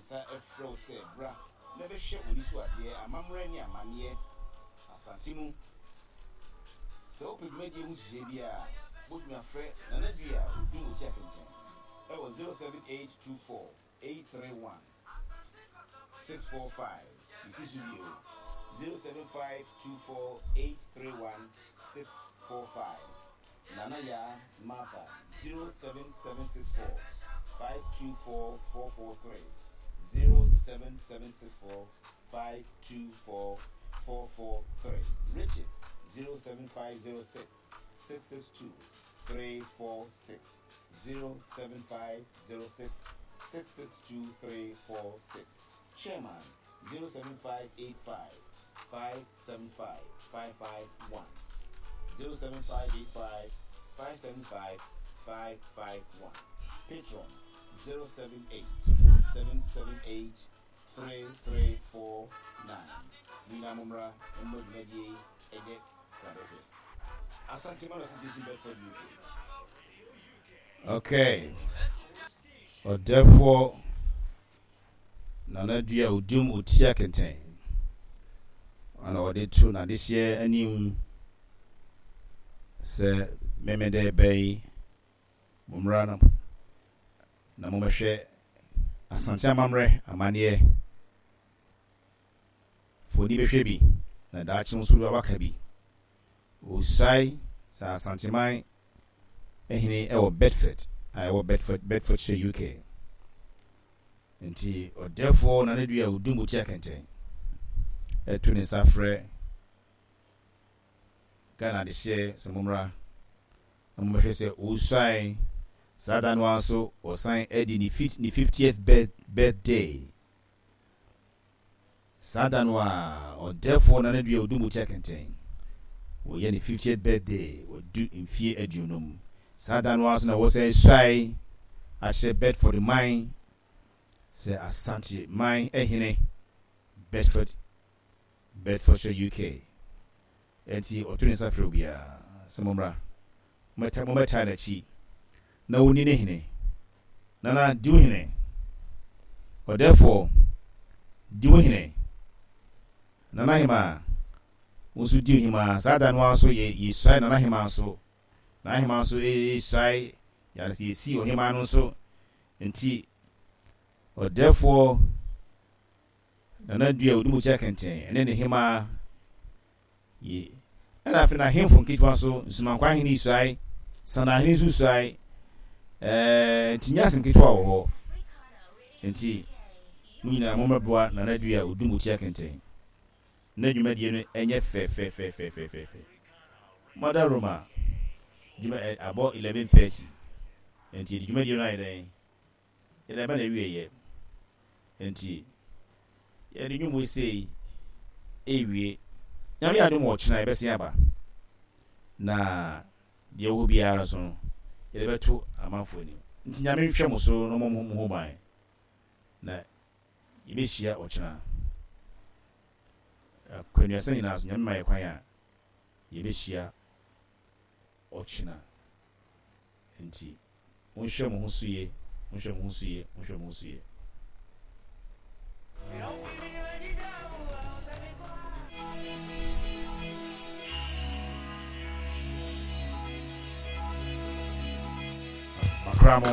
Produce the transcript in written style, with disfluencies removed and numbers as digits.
nsa frɛ wo sɛ bra na bɛhwɛ w'ani so adeɛ, amammerɛ ne amanneɛ Asante mu. Sɛ wopɛ dwumadie ho nhyehyɛeɛ biara a, wobɛtumi afrɛ Nana Dua Odum Okyia Kɛntɛn wɔ 07824 831 645. Mesi so bio, 07524 831 645. Nana Yaa Martha, 07764 524 443, 07764 524 443. Richard, 07506 662 346, 07506 662 346. Chairman, 07585 575 551, 07585 575 551. Patron, 078 778 3349. Mo nyinaa mommra mmɔ dwumadie yi ɛnyɛ krabɛhwɛ. Asanteman Association Bedford UK. Okay. Ɔdɛfoɔ Nana Dua Odum Otia Kɛntɛn ana ɔde to n'adehyeɛ anim sɛ Memeda ɛbɛn yi mommra na na mommɛhwɛ Asante amammerɛ amanneɛ Foni bɛhwɛ bi na daakye nso waka bi. Osuae sɛ Asanteman hene wɔ Bedford a ɛwɔ Bedford, Bedfordshire, UK. Nti ɔdɛfoɔ Nana Dua Odum Otia Kɛntɛn ɛto ne nsa frɛ Ghana adehyeɛ sɛ mommra na mommɛhwɛ sɛ osuae. Saa da no ara nso ɔsan adi ne 50th birthday. Saa da no ara, ɔdɛɛfoɔ Nana Dua Odumbukyɛ Kɛntɛn, wɔyɛ ne 50th birthday, wadu mfeɛ aduonum. Saa da no ara nso na wɔsan suae akyerɛ Bedford man sɛ Asante man hene, Bedford, Bedfordshire, UK. Enti ɔto ne nsa frɛ obiara sɛ mommra, mommɛtaa n'akyi na ɔnni ne hene. Nana, di wo hene. Ɔdɛɛfoɔ, di wo hene. Nana Hemaa, wo nso di wo hemaa. Saa da no ara nso yɛ yɛsuae Nana Hemaa nso. Nana Hemaa nso yɛsuae, yɛade sɛ yɛsi ɔhemaa no nso. Enti ɔdɛɛfoɔ Nana Dua Odumukyia Kɛntɛn ne ne hemaa Ye. Ɛna afei n'ahemfo nketewa nso, Nsumankwaa hene suae, Sanaa hene nso suae. Ɛɛ, nti nyɛ asɛm ketewa wɔ hɔ. Nti, mo nyinaa mommɛboa Nana Dua Odumukyia Kɛntɛn na dwumadie no ɛnyɛ fɛfɛfɛfɛfɛfɛ. Mother Roma, dwuma ɛ, abɔ 11:30. Nti yɛde dwumadie no ayɛ dɛn? Yɛde aba n'awieɛ. Enti yɛde nnwom wei sei rewie. Nyame adom a ɔkyena yɛbɛsen aba. Na deɛ ɛwɔ hɔ biara nso no, yɛde bɛto amanfoɔ anim. Nti Nyame nhwɛ mo so na ɔmmɔ mo ho ban. Na yɛbɛhyia ɔkyena. Akwannuasa nyinaa so, Nyame ma yɛ kwan a, yɛbɛhyia ɔkyena. Enti monhwɛ mo ho so yie, monhwɛ mo ho so yie, monhwɛ mo ho so yie. Makra mo.